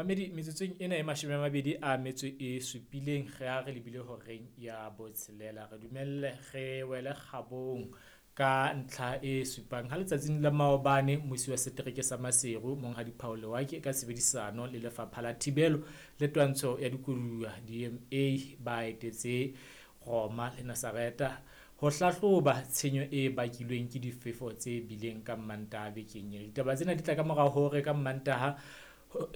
Momamedi, metsotsong ena e 27 re a re lebile horeng ya botshelela. Re dumelle re wele kgabong ka ntlha e supang ha letsatsing la maobane mmusi wa setereke sa Maseru Monghadi Paul Lewake ka tshebedisano le Lefapha la Thibelo le Twantsho ya Dikoduwa DMA ba etetse Roma le Nasareta ho hlahloba tshenyo e bakilweng ke difefo tse bileng ka Mmantaha bekeng ena. Ditaba tsena di tla ka mora hore ka Mmantaha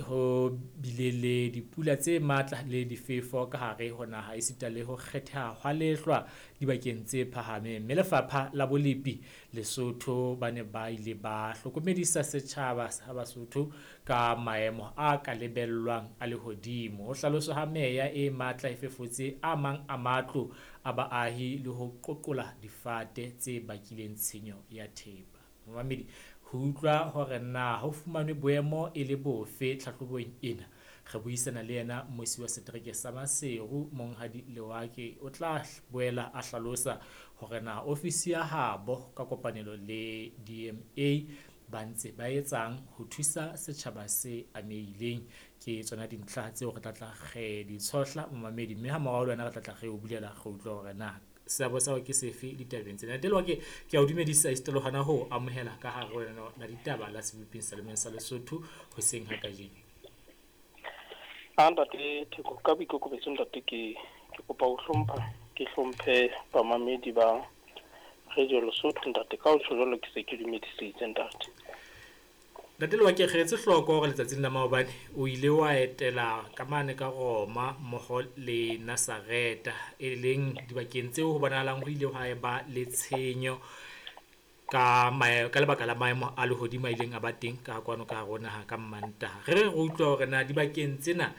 ho bile le dipula tse matla le difefo ka hare ho naha esita le ho kgetheha hwa lehlwa dibakeng tse phahameng. Mme Lefapha la Bolepi Lesotho ba ne ba ile ba hlokomedisa setjhaba sa Basotho ka maemo a ka lebellwang a lehodimo. Ho hlaloswa ha meya e matla e fefotse a mang a matlo a baahi le ho qoqola difate tse bakileng tshenyo ya thepa. Momamedi, ho utlwa hore na ho fumanwe boemo e le bofe tlhahlobong ena, re buisana le yena mmusi wa setereke sa Maseru Monghadi Lewake. O tla boela a hlalosa hore na ofisi ya habo ka kopanelo le DMA ba ntse ba etsang ho thusa setjhaba se amehileng. Ke tsona dintlha tseo re tla tla re di tshohla momamedi, mme ha morao le wena re tla tla re o bulela re utlwe hore na seabo sa hao ke sefe ditabeng tsena. Ntate Lewake, ke a o dumedisa esita le hona ho amohela ka hare ho lenaneo la ditaba la Seboping sa Lemeng sa Lesotho hoseng ha kajeno. A ntate Theko, ka boikokobetso ntate ke ke kopa ho hlompha, ke hlomphe bamamedi ba Radio Lesotho ntate. Ka ho tjho jwalo ke se ke dumedisitse ntate. Ntate Lewake, re etse hloko hore letsatsing la maobane o ile wa etela ka mane ka Roma mmoho le Nasareta, e leng dibakeng tseo ho bonahalang ho ile hwa eba le tshenyo ka ka lebaka la maemo a lehodimo a ileng a ba teng ka kwano ka hare ho naha ka Mmantaha. Re re re utlwa hore na dibakeng tsena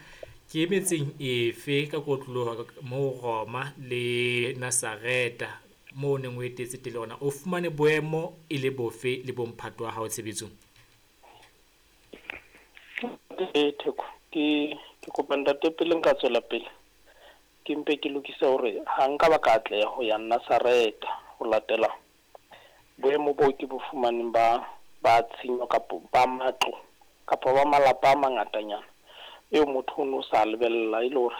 ke metseng efe ka kotloloho moo Roma le Nasareta moo o neng o etetse teng le hore na o fumane boemo e le bofe le bomphato wa hao tshebetsong. Ntate Theko, ke kopa ntate pele nka tswela pele ke mpe ke lokise hore ha nka ba ka atleha ho ya Nasareta ho latela boemo boo ke bo fumaneng ba ba tshenyo kapo ba matlo kapa ba malapa a mangatanyana eo motho o no sa lebella, e le hore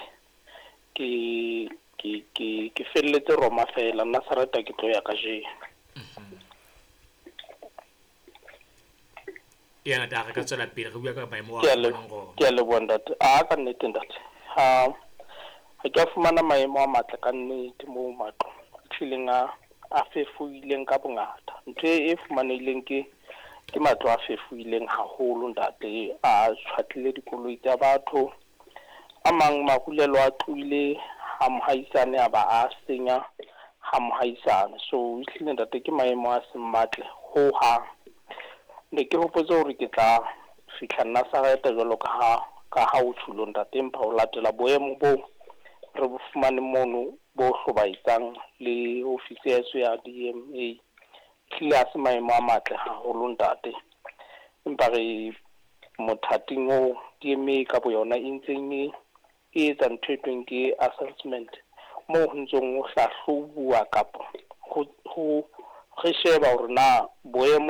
ke ke ke ke felletse Roma fela. Nasareta ke tlo ya kajeno. Ya ntate, ha re ka tswela pele re bua ka maemo a Ke a le fumanang Roma. Ke a leboha ntate. A ka nnete ntate, ha ha ke a fumana maemo a matle ka nnete moo matlo a tlileng a a fefoileng ka bongata. Ntho e fumanehileng ke matlo a fefoileng haholo ntate, a tjhwatlile dikoloi tsa batho. A mang marulelo a tlohile ha mohaisane a ba a senya ha mohaisane. So ehlile ntate ke maemo a seng matle ho hang. Ne ke hopotse hore ke tla fihla Nasareta jwalo ka ha ka ha o tjhulo ntate, empa ho latela boemo bo re bo fumane mono bo hlobaetsang le ofisi ya heso ya DMA, ehlile ha se maemo a matle haholo ntate. Empa re mothating oo DMA ka boyona e ntseng e e etsa ntho e tweng ke assessment, moo ho ntsong ho hlahlobuwa kapo ho re sheba hore na boemo